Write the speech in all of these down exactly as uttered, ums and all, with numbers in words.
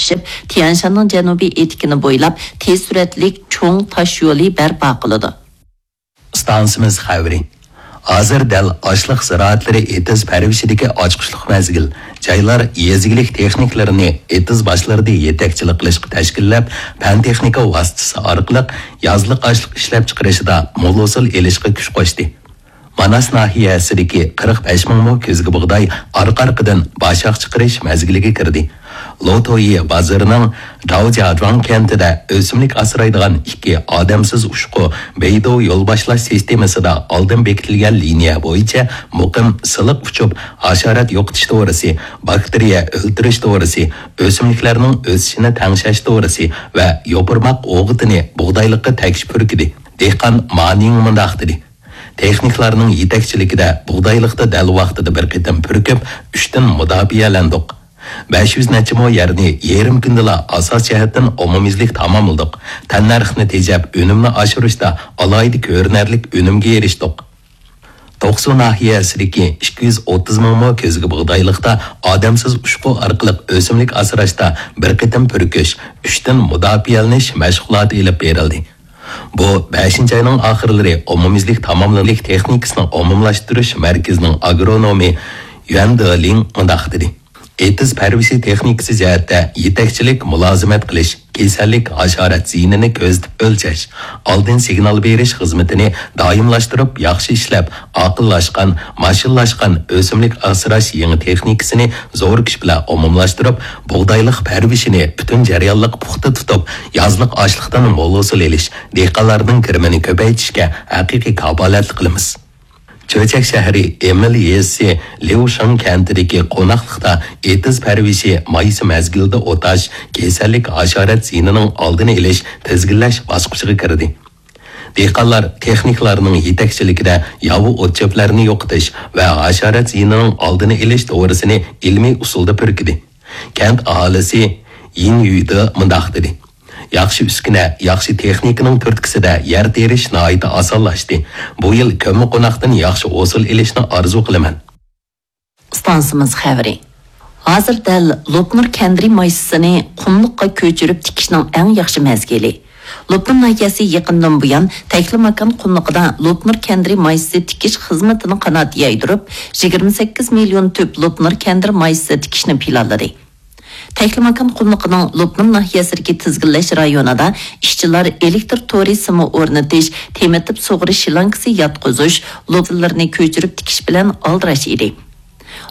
ئېچىپ، تيەنشاننىڭ جەنۇبىي ئېتىكىنى بويلاپ تېز سۈرئەتلىك چوڭ تاش يولى بەرپا قىلىدۇ. ئىستانسىمىز خەۋىرى. ھازىر دەل ئاشلىق زىرائەتلىرى ئېتىز پەرۋىشىدىكى ئاچقۇچلۇق مەزگىل. جايلار يېزا ئىگىلىك تېخنىكلىرىنى ئېتىز باشلىرىدا يېتەكچىلىك قىلىشقا تەشكىللەپ، پەن-تېخنىكا ۋاسىتىسى ئارقىلىق يازلىق ئاشلىق ئىشلەپچىقىرىشىدا مول ھوسۇل ئېلىشقا كۈچ قوشتى. ماناس ناھىيەسىدىكى قىرىق بەش مىڭ مو كۆزگە بۇغداي ئارقا-ئارقىدىن باشاق چىقىرىش مەزگىلىگە كىردى. لوتويى بازىرىنىڭ داۋجياجۇاڭ كەنتىدە ئۆسۈملۈك ئاسرايدىغان ئىككى ئادەمسىز ئۇچقۇ بېيدۇ يول باشلاش سىستېمىسىدا ئالدىن بېكىتىلگەن لىنىيە بويىچە مۇقىم سىلىق ئۇچۇپ، ھاشارات يوقىتىش دورىسى، باكتېرىيە ئۆلتۈرۈش دورىسى، ئۆسۈملۈكلەرنىڭ ئۆسۈشىنى تەڭشەش دورىسى ۋە يوپۇرماق ئوغۇتىنى بۇغدايلىققا تەگۈش پۈركىدى. دېھقان مانىڭ مۇنداق دېدى: تېخنىكلارنىڭ يېتەكچىلىكىدە بۇغدايلىقتا دەل ۋاقتىدا بىر قېتىم پۈركۈپ، ئۈچتىن مۇداپىئەلەندۇق. بەش يۈز نەچچە مو يەرنى يېرىم كۈندىلا ئاساس جەھەتتىن ئومۇميۈزلۈك تاماملىدۇق. تەننەرخنى تېجەپ، ئۈنۈمنى ئاشۇرۇشتا ئالاھىدە كۆرۈنەرلىك ئۈنۈمگە ئېرىشتۇق. توقسۇ ناھىيەسىدىكى ئىككى يۈز ئوتتۇز مىڭ مو كۆزگە بۇغدايلىقتا ئادەمسىز ئۇچقۇ ئارقىلىق ئۆسۈملۈك ئاسراشتا بىر قېتىم پۈركۈش، ئۈچتىن مۇداپىئەلىنىش مەشغۇلاتى ئېلىپ بېرىلدى. بۇ بەشىنچى ئاينىڭ ئاخىرلىرى ئومۇميۈزلۈك تاماملىنىش تېخنىكىسىنىڭ ئومۇملاشتۇرۇش مەركىزىنىڭ ئاگرونومى يۈەن دېلىڭ مۇنداق دېدى: ئېتىز پەرۋىشى تېخنىكىسى جەھەتتە يېتەكچىلىك، مۇلازىمەت قىلىش، كېسەللىك، ھاشارات زىيىنىنى كۆزىتىپ ئۆلچەش، ئالدىن سىگنال بېرىش خىزمىتىنى دائىملاشتۇرۇپ، ياخشى ئىشلەپ، ئاقىللاشقان، ماشىنىلاشقان ئۆسۈملۈك ئاسراش يېڭى تېخنىكىسىنى زور كۈچ بىلەن ئومۇملاشتۇرۇپ، بۇغدايلىق پەرۋىشىنى پۈتۈن جەريانلىق پۇختا تۇتۇپ، يازلىق ئاشلىقتىن مول ھوسۇل ئېلىش، دېھقانلارنىڭ كىرىمىنى كۆپەيتىشكە ھەقىقىي كاپالەتلىك قىلىمىز. چۆچەك شەھىرى ئېمىل يېزىسى ليۇشېڭ كەنتىدىكى قوناقلىقتا ئېتىز پەرۋىشى مايسا مەزگىلىدە ئوتاش، كېسەللىك، ھاشارات زىيىنىنىڭ ئالدىنى ئېلىش، تىزگىنلەش باسقۇچىغا كىردى. دېھقانلار تېخنىكلارنىڭ يېتەكچىلىكىدە ياۋا ئوت-چۆپلەرنى يوقىتىش ۋە ھاشارات زىيىنىنىڭ ئالدىنى ئېلىش دورىسىنى ئىلمىي ئۇسۇلدا پۈركىدى. كەنت ئاھالىسى يىن يۈيدې مۇنداق دېدى: ياخشى ئۈسكۈنە، ياخشى تېخنىكىنىڭ تۈرتكىسىدە يەر تېرىش ناھايىتى ئاسانلاشتى. بۇ يىل كۆممىقوناقتىن ياخشى ھوسۇل ئېلىشنى ئارزۇ قىلىمەن. ئىستانسىمىز خەۋىرى. ھازىر دەل لوپنۇر كەندىرى مايسىسىنى قۇملۇققا كۆچۈرۈپ تىكىشنىڭ ئەڭ ياخشى مەزگىلى. لوپنۇر ناھىيەسى يېقىندىن بۇيان تەكلىماكان قۇملۇقىدا لوپنۇر كەندىرى مايسىسى تىكىش خىزمىتىنىڭ قانات يايدۇرۇپ، يىگىرمە سەككىز مىليون تۈپ لوپنۇر كەندىرى مايسىسى تىكىشنى پىلانلىدى. تەكلىماكان قۇملۇقىنىڭ لوپنۇر ناھىيەسىدىكى تىزگىنلەش رايونىدا ئىشچىلار ئېلېكتر تورى سىمى ئورنىتىش، تېمىتىپ سۇغىرىش شلانكىسى ياتقۇزۇش، لوپنۇرلىرىنى كۆچۈرۈپ تىكىش بىلەن ئالدىراش ئىدى.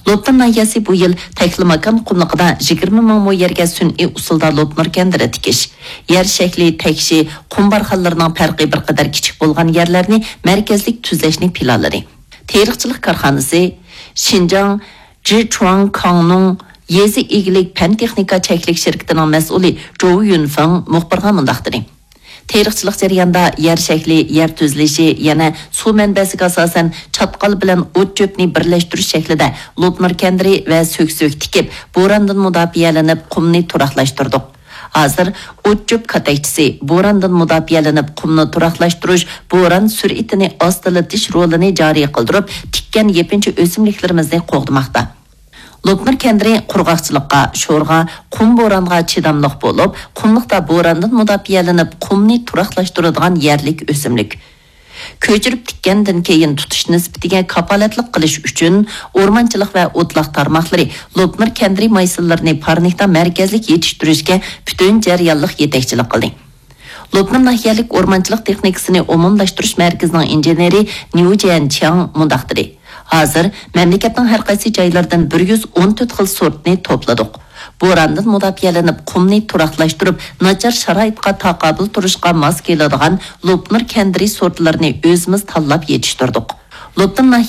لوپنۇر ناھىيەسى بۇ يىل تەكلىماكان قۇملۇقىدا يىگىرمە مىڭ مو يەرگە سۈنئىي ئۇسۇلدا لوپنۇر كەندىرى تىكىش، يەر شەكلى، تەكشى، قۇم بارخانلىرىنىڭ پەرقى بىر قەدەر كىچىك بولغان يەرلەرنى مەركەزلىك تۈزەشنى پىلانلىدى. تېرىقچىلىق كارخانىسى شىنجاڭ جىچۇاڭ كاڭنىڭ يېزا ئىگىلىك پەن تېخنىكا چەكلىك شىركىتىنىڭ مەسئۇلى جوۋ يۈنفېڭ مۇخبىرغا مۇنداق دېدى: تېرىقچىلىق جەريانىدا يەر شەكلى، يەر تۈزۈلۈشى، يەنە سۇ مەنبەسىگە ئاساسەن چاتقال بىلەن ئوت-چۆپنى بىرلەشتۈرۈش شەكلىدە لوپنۇر كەندىرى ۋە سۆكسۆك تىكىپ، بورانىدىن مۇداپىئەلىنىپ قۇمنى تۇراقلاشتۇردۇق. ھازىر ئوت-چۆپ كاتەكچىسى، بوراندىن مۇداپىئەلىنىپ قۇمنى تۇراقلاشتۇرۇش، بوران سۈرئىتىنى ئاستىلىتىش رولىنى جارى قىلدۇرۇپ، تىككەن يېپىنچا ئۆسۈملۈكلىرىمىزنى قوغدىماقتا. لوپنۇر كەندىرى قۇرغاقچىلىققا، شورغا، قۇم بورانغا چىداملىق بولۇپ، قۇملۇقتا بوراندىن مۇداپىئەلىنىپ قۇمنى تۇراقلاشتۇرىدىغان يەرلىك ئۆسۈملۈك. كۆچۈرۈپ تىككەندىن كېيىن تۇتۇش نىسبىتىگە كاپالەتلىك قىلىش ئۈچۈن، ئورمانچىلىق ۋە ئوتلاق تارماقلىرى لوپنۇر كەندىرى مايسىلىرىنى پارنىكتا مەركەزلىك يېتىشتۈرۈشكە پۈتۈن جەريانلىق يېتەكچىلىك قىلدى. لوپنۇر ناھىيەلىك ئورمانچىلىق تېخنىكىسىنى ئومۇملاشتۇرۇش مەركىزىنىڭ ئىنژېنېرى نيۇ جيەنچياڭ مۇنداق دېدى: ھازىر مەملىكەتنىڭ ھەر قايسى جايلىرىدىن بىر يۈز ئون تۆت خىل سورتنى توپلىدۇق. بوراندىن مۇداپىئەلىنىپ قۇمنى تۇراقلاشتۇرۇپ، ناچار شارائىتقا تاقابىل تۇرۇشقا ماس كېلىدىغان لوپنۇر كەندىرى سورتلىرىنى ئۆزىمىز تاللاپ يېتىشتۈردۇق. لوپنۇر ناھىيە